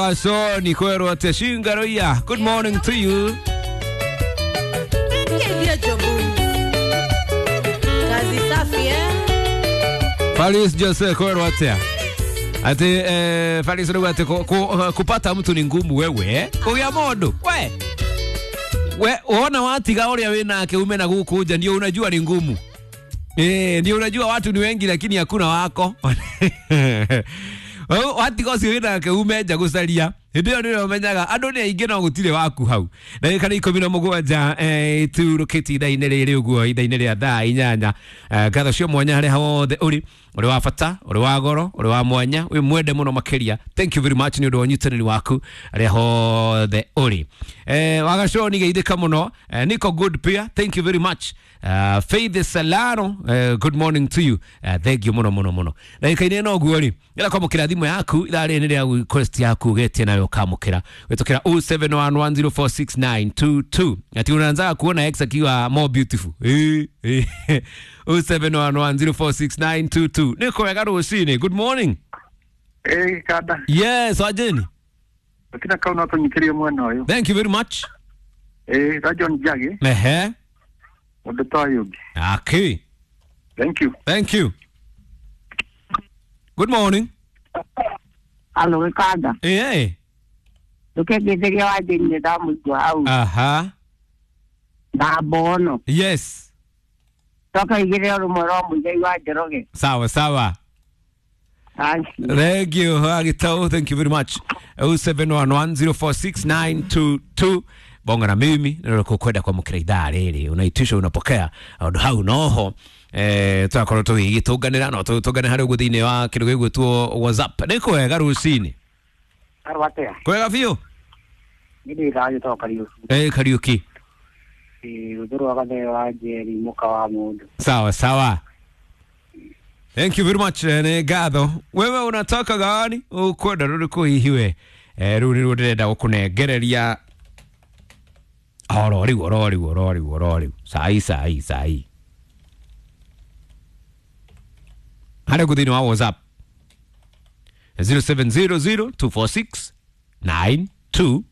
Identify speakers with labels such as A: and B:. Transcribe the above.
A: Soni kwerwo atia shingaroia. Good morning to you.
B: Kazi safi eh?
A: Faris Jose kwerwo atia ati Faris rĩu ati kupata mtu ni ngumu wewe eh? Kũgĩa mũndũ we we wona watiga ũrĩa wĩ nake ume na gũkũ nja ndio unajua ni ngumu ndio unajua watu ni wengi lakini hakuna wako. Watiga ũcio wĩ nake ume nja gũcaria hĩndĩ ĩyo nĩrĩo ũmenyaga andũ nĩ aingĩ no gũtirĩ waku hau. Ndagĩka nĩ 17 turũkĩtie ithaa-inĩ rĩrĩ ũguo ithaa-inĩ rĩa thaa 8. Ngatho cia mwanya harĩa hothe ũrĩ, ũrĩ wa bata, ũrĩ wa goro, ũrĩ wa mwanya, wĩ mwende mũno makĩria. Thank you very much nĩ ũndũ wa ũnyitanĩri waku harĩa hothe ũrĩ. Wagaconi geithĩka mũno. Nico Good Pia, thank you very much. Faith Salano, good morning to you. Thank you mũno mũno mũno. Ndagĩka-inĩ ĩno ũguo rĩ, ĩra kwamũkĩra thimũ yaku ithaa rĩrĩ nĩ rĩa request yaku ũgetie nayo ũkamũkĩra wĩtũkĩra 0711046922. Ati unaanza kuona ex akiwa more beautiful. 0711046922. Nĩ kwega rũcinĩ. Good morning.
C: Kada.
A: Yes, wajeni.
C: Lakini kau no tũnyitĩrie mwena ũyũ.
A: Thank you very much.
C: Ra John Njagi.
A: Ehe.
C: Mũndũ ta ũyũ ũngĩ.
A: Okay.
C: Thank you.
A: Thank you. Good morning.
D: Alo gĩkanda. Ndũkengĩtheria wajeni nĩ ndamũigua hau.
A: Aha.
D: Na mbono.
A: Yes.
D: Toka igĩrĩ o rũmwe rwa Mũigai wa Njoroge.
A: Sawa sawa.
D: Thank you.
A: Thank you, Agitau. Thank you very much. 0711046922. Bonga na mimi nĩrĩkũ kwenda kwamũkĩra ithaa rĩrĩ unaitisha unapokea ũndũ hau noho twakorwo tũgĩgĩtũnganĩra no tũtũngane harĩ ũguo thĩinĩ wa kĩndũ gĩgwĩtwo WhatsApp. Nĩ kwega rũcinĩ.
D: Arwa atĩa?
A: Kwega biũ.
D: Nĩ ndĩ thayũ to Kariũki.
A: Kariũki.
D: Rũthũ rwa Gathee wa Njeri mũka wa mũndũ.
A: Sawa sawa. Thank you very much. Nĩ ngatho. Wewe unataka gani? Ukwenda rũrĩkũ hihi we? Rĩu nĩruo ndĩrenda gũkũnengereria oro rĩu oro rĩu oro rĩu oro rĩu sai sai sai harĩa ũguo thĩinĩ wa WhatsApp 0700246928.